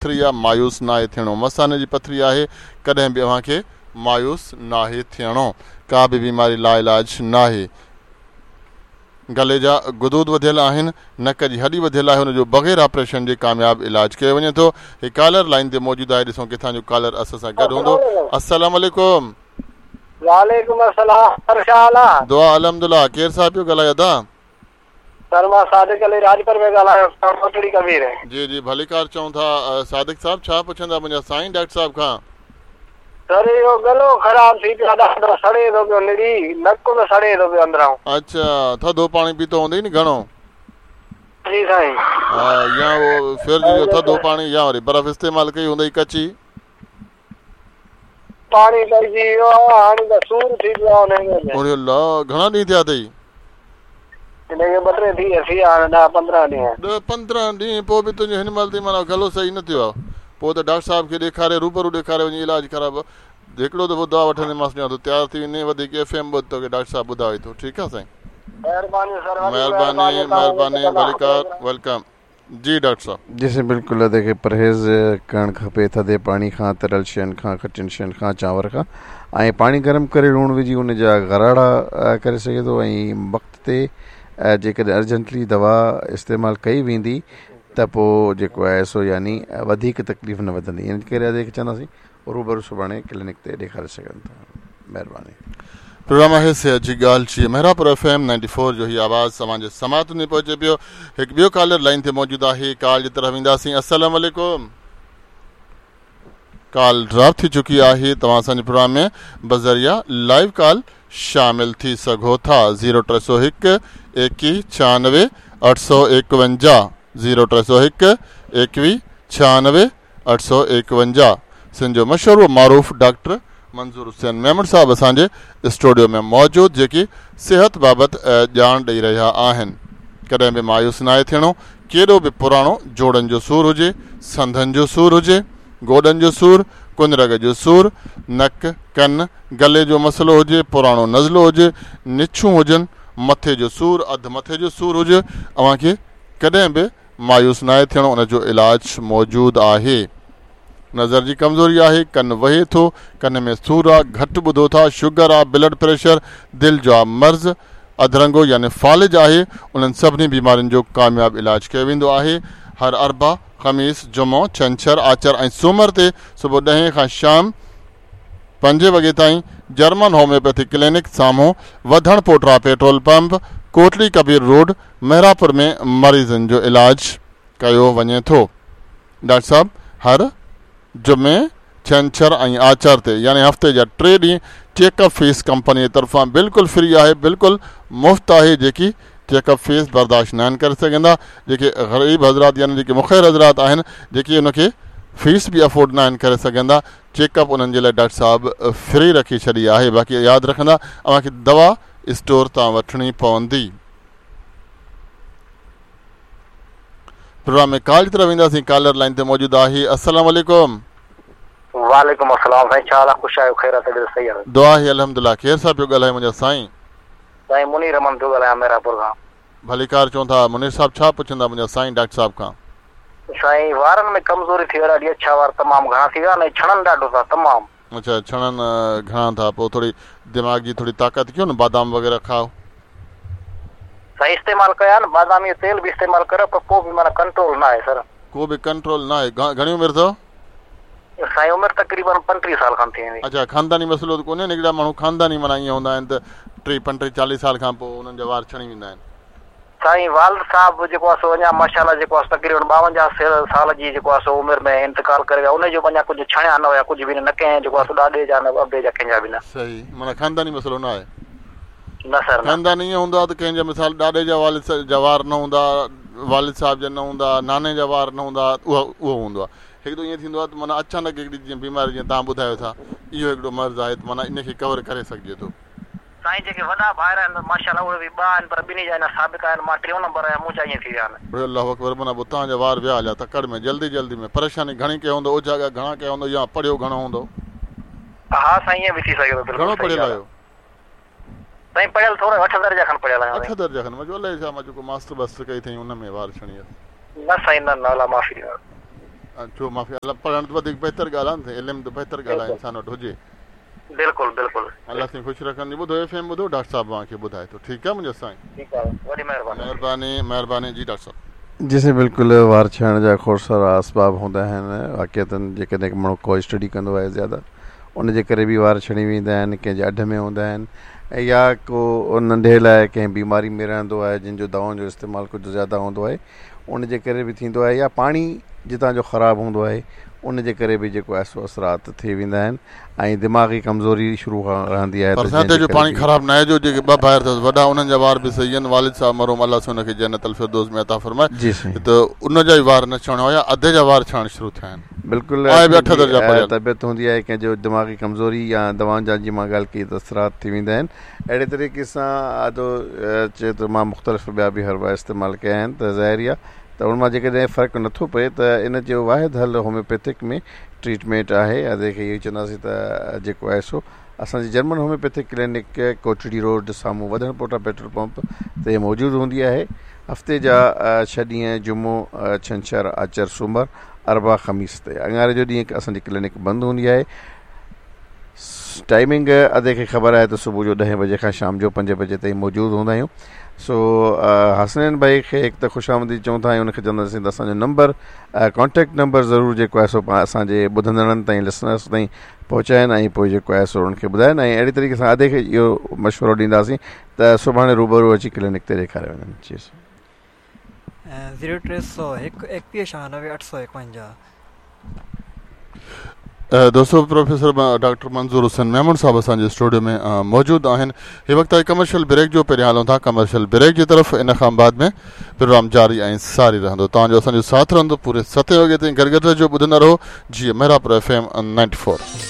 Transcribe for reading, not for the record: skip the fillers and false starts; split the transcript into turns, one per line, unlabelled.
پٿري آ مايوس ناهي ٿيڻو. مثاني جي پٿري آهي ڪڏهن به اوهان کي مايوس ناهي ٿيڻو. ڪا به بيماري لاعلاج ناهي. گلي جا غدود وڌيل آهن، نڪ جي هڏي وڌيل آهي ان جو بغير آپريشن جي ڪامياب علاج ڪيو وڃي ٿو. هي ڪالر لائين تي موجود آهي ڏسون ڪٿان جو ڪالر اسان سان گڏ هوندو. السلام عليڪم.
وعليڪم السلام سر ڇا حال آ.
دعا الحمدلله ڪير صاحب پيو ڳالهائي ادا.
سر مان صادق علي راڄپر پيو ڳالهايان فرام ڪوٽڙي ڪبير.
جي جي ڀليڪار چئون ٿا صادق صاحب ڇا پڇندا منهنجا سائين ڊاڪٽر صاحب کان.
سر اهو ڳلو خراب ٿي پيو آ ڏاڍو سڙي ٿو پيو نڙي نڪ به سڙي ٿو پيو اندران.
اڇا ٿڌو پاڻي پيتو هوندئي نه گهڻو.
جي سائين.
ها يا اهو فرج جو ٿڌو پاڻي يا وري برف استعمال ڪئي هوندئي ڪچي.
پاڻي پئجي ويو آ هاڻي ته سور ٿي پيو آ انهي ۾ به.
اڙي الله گهڻا ڏينهن ٿيا اٿئي؟
هن کي ٻه ٽي ٿي ٿي ويا هاڻي ڏهه 15 ڏينهن.
ڏهه 15 ڏينهن پوء به تنهنجو هن مهل تائين معنيٰ گلو صحيح نه ٿيو آ پوء ته ڊاڪٽر صاحب کي ڏيکاري روبرو ڏيکاري وڃي علاج ڪراء هڪڙو دفعو دوا وٺنديمانس ڏيان ٿو تيار ٿي ويندين وڌيڪ ايف ايم ٻڌ توکي ڊاڪٽر صاحب ٻڌائي ٿو ٺيڪ آ سائين.
مهرباني سر وڏي
مهرباني
مهرباني توهان
مهرباني ڀليڪار welcome. جي ڊاڪٽر صاحب.
جي سائين بلڪل ادي کي پرهيز ڪرڻ کپي ٿڌي پاڻي کان تريل شين کان کٽين شين کان چانور کان ۽ پاڻي گرم ڪري لوڻ وجهي ان جا غراڙا ڪري سگهي ٿو ۽ وقت تي جيڪڏهن ارجنٽلي دوا استعمال ڪئي ويندي ته پوء جيڪو آهي سو يعني وڌيڪ تڪليف نه وڌندي ان ڪري ادي کي چونداسين روبرو سڀاڻي ڪلينڪ تي ڏيکاري سگهن ٿا مهرباني.
پروگرام آهي صحت جي ڳالهه جي محرابپور ايف ايم 94 فور جو هي آواز اوهان جي سماعتن تائين پهچي پيو هڪ ٻيو ڪالر لائين تي موجود آهي ڪال جي طرف وينداسين السلام عليڪم ڪال ڊراپ ٿي چڪي آهي توهان اسان جي پروگرام ۾ بذريعه لائيو ڪال شامل ٿي سگهو ٿا 0301 21 96 851 0301 21 96 851 سنڌ جو مشهور و معروف ڊاڪٽر منظور حسين ميمڻ صاحب اسان جي اسٽوڊيو ۾ موجود جيڪي صحت بابت ڄاڻ ڏئي رهيا آهن. ڪڏهن به مايوس ناهي ٿيڻو ڪيڏو به پراڻو جوڙن جو سور هجي، سنڌن جو سور هجي، گوڏن جو سور، ڪنرڳ جو سور، نڪ، ڪن، گلي جو مسئلو هجي، پراڻو نزلو هجي، نڇون هجن، مٿي جو سور، اڌ مٿي جو سور هجي اوهان کي ڪڏهن به مايوس ناهي ٿيڻو ان جو علاج موجود آهي. نظر جي ڪمزوري آهي، ڪن وهي ٿو، ڪن ۾ سور آ، گهٽ ٻڌو ٿا، شگر آ، بلڊ پريشر، دل جو آ مرض، اڌرنگو يعني فالج آهي، انهن سڀني بيمارين جو ڪامياب علاج ڪيو ويندو آهي. هر اربع، خميس، جمعو، ڇنڇر، آچر ۽ سومر تي صبح ڏهين کان شام پنجين وڳي تائين جرمن هوميوپيٿڪ ڪلينڪ سامهون وڌڻ پوٽرا پيٽرول پمپ، ڪوٽڙي ڪبير روڊ، محرابپور ۾ مريضن جو علاج ڪيو وڃي ٿو. ڊاڪٽر صاحب هر جمعي، ڇنڇر ۽ آچر تي يعني هفتي جا ٽي ڏينهن چيڪ اپ فيس ڪمپني طرفان بلڪل فري آهي بلڪل مفت آهي جيڪي چيڪ اپ فيس برداشت ناهن ڪري سگهندا جيڪي غريب حضرات يعني جيڪي مخير حضرات آهن جيڪي ان کي فيس به افورڊ ناهن ڪري سگهندا چيڪ اپ انهن جي لاء ڊاڪٽر صاحب فري رکي ڇڏي آهي باقي ياد رکندا اوهان کي دوا اسٽور تان وٺڻي پوندي. پروگرام ۾ ڪال جي طرف وينداسين ڪالر لائين تي موجود آهي السلام عليڪم.
وعليڪم السلام سائين ڇا حال آ خوش آهيو خير آ طبيعت صحيح آ.
دعا آهي الحمدلله ڪير صاحب پيو ڳالهائي منهنجا سائين.
سائين منير احمد پيو ڳالهايان ميرانپور کان.
ڀليڪار چون ٿا منير صاحب ڇا پڇندا منهنجا سائين ڊاڪٽر صاحب کان.
سائين وارن ۾ ڪمزوري ٿي وئي ڏاڍي اڇا وار تمام گهڻا ٿي ويا آهن ۽ ڇڻن ڏاڍو ٿا تمام.
اڇا ڇڻن گهڻا ٿا پوء ٿوري دماغ جي ٿوري طاقت ڪيو نه بادام وغيره کائو.
سائين استعمال ڪيا آهن بادامي جو تيل به استعمال ڪريو پر پوء به معنيٰ ڪنٽرول نه آهي سر.
ڪو به ڪنٽرول نه آهي گهڻي عمر اٿو؟
سائين عمر تقريبن 35 سال کن ٿي ويندي.
اڇا خانداني مسئلو ته ڪونهي نه هڪڙا ماڻهو خانداني معنيٰ ائين هوندا آهن ته 30 35 40 سال کان پوء انهن جا وار ڇڻي ويندا آهن.
سائين والد صاحب جيڪو آهي سو اڃا ماشاء الله جيڪو آهي سو تقريبن 52 سال جي جيڪو آهي سو عمر ۾ انتقال ڪري ويا انهي جو به اڃا ڪجهه ڇڻيا نه هيا ڪجهه به نه نه ڪنهن جيڪو آهي سو ڏاڏي جا نه ابي جا ڪنهن جا به نه.
صحيح معنيٰ خانداني مسئلو نه آهي.
نه سر نه.
خانداني ائين هوندو آهي ته ڪنهن جا مثال ڏاڏي جا والد جا وار نه هوندا والد صاحب جا نه هوندا ناني جا وار نه هوندا اهو اهو هوندو آهي هڪڙو ائين ٿيندو آهي ته معنيٰ اچانڪ هڪڙي جيئن بيماري جيئن توهان ٻڌايو ٿا اهو هڪڙو مرض آهي ته معنيٰ ان کي ڪور ڪري سگهجي ٿو.
سائين جيڪي وڏا ڀائر آهن ماشاء الله اهي به ٻه آهن پر ٻنهي جا اڃا ثابت آهن مان ٽيون نمبر آهيان منهنجا ائين ٿي ويا آهن.
اڙي الله اڪبر معنيٰ پوء توهان جا وار ويا هليا تڪڙ ۾ جلدي جلدي ۾ پريشاني گهڻي ڪئي هوندو اوجاڳا گهڻا ڪيا هوندو يا پڙهيو گهڻو هوندو.
ها سائين ائين به ٿي سگهي ٿو بلڪل
گهڻو
صحيح
پڙهيل
ڳالهه
آهيو.
آهي. سائين پڙهيل ٿورو اٺ درجا کن پڙهيل آهيان
اٺ
سائين.
درجا کن مان چيو الائي ڇا مان چيو ڪو ماسٽر ٻاسٽر ڪئي اٿئي ان ۾ وار ڇڻي ويس.
نه سائين نه نه الله معافي ڏيندو.
ڇو معافي الله پڙهڻ ته وڌيڪ بهتر ڳالهه آهي نه علم ته بهتر ڳالهه آهي انسان وٽ هجي.
بلڪل بلڪل.
الله سائين خوش رکن جي ٻڌو ايف ايم ٻڌو ڊاڪٽر صاحب اوهان کي ٻڌائي ٿو ٺيڪ آهي منهنجا سائين.
ٺيڪ آهي وڏي مهرباني.
مهرباني مهرباني جي ڊاڪٽر صاحب.
جي سائين بلڪل وار ڇڻڻ جا کوڙ سارا اسباب هوندا آهن واقعتن جيڪڏهن ماڻهو ڪو اسٽڊي ڪندو آهي زياده ان جي ڪري به وار ڇڻي ويندا آهن ڪنهن جي اڍ ۾ هوندا آهن يا ڪو ننڍي لاء ڪنهن بيماري ۾ رهندو آهي جن جو دوائن جو استعمال ڪجهه زياده هوندو آهي ان جي ڪري به ٿيندو آهي يا پاڻي جتان جو خراب هوندو آهي ان جي ڪري به جيڪو آهي سو اثرات ٿي ويندا آهن ۽ دماغي ڪمزوري شروع کان رهندي آهي
پر سائين هتي جو پاڻي خراب ناهي جو جيڪي ٻه ڀائر اٿس وڏا انهن جا وار به صحيح آهن والد صاحب مرحوم الله سائين ان کي جنت الفردوس ۾ عطا فرمائي
جي سائين
ته ان جا ئي وار نه ڇڻيا هيا ادي جا وار ڇڻڻ شروع ٿيا آهن
بلڪل
آهي به اٺ درجا پڙهيل.
طبيعت هوندي آهي ڪنهن جو دماغي ڪمزوري يا دوائن جا جي مان ڳالهه ڪئي ته اثرات ٿي ويندا آهن اهڙي طريقي سان ادو چئي ٿو مان مختلف ٻيا به حربا استعمال ڪيا آهن ته ظاهر آهي ته ان مان جيڪڏهن فرق نٿو پئي ته ان جو واحد حل هوميوپيٿڪ ۾ ٽريٽمينٽ آهي ادي کي اهو ئي چونداسين ته جيڪو آهي سو اسان جي German homeopathic clinic Kotri road سامهون وڌڻ پوٽا پيٽرول پمپ تي موجود هوندي آهي هفتي جا ڇهه ڏينهن جمعو ڇنڇر آچر سومر اربع خميس تي اڱاري جو ڏينهن اسان جي ڪلينڪ بند هوندي آهي ٽائمنگ ادي کي خبر آهي ته صبح جو ڏهين بجي کان شام جو پنجين بجي تائين موجود هوندا آهيون سو حسنين ڀائي کي هڪ ته خوش آمديد چئون ٿا ۽ ان کي چونداسين ته اسان جو نمبر ڪانٽيڪٽ نمبر ضرور جيڪو آهي سو اسان جي ٻڌندڙن تائين لسنرس تائين پهچائن ۽ پوء جيڪو آهي سو انهن کي ٻڌائن ۽ اهڙي طريقي سان ادي کي اهو مشورو ڏينداسين ته سڀاڻي روبرو اچي ڪلينڪ تي ڏيکاري وڃن جي
زيرو 301 21 96 851.
دوستو پروفيسر ڊاڪٽر منظور حسين ميمڻ صاحب اسان جي اسٽوڊيو ۾ موجود آهن هي وقت آهي ڪمرشل بريڪ جو پهريان هلون ٿا ڪمرشل بريڪ جي طرف ان کان بعد ۾ پروگرام جاري ۽ ساري رهندو توهان جو اسان جو ساٿ رهندو پوري ستين وڳي تائين گڏ گڏ رهجو ٻڌندا رهو جي محرابپور ايف ايم 94.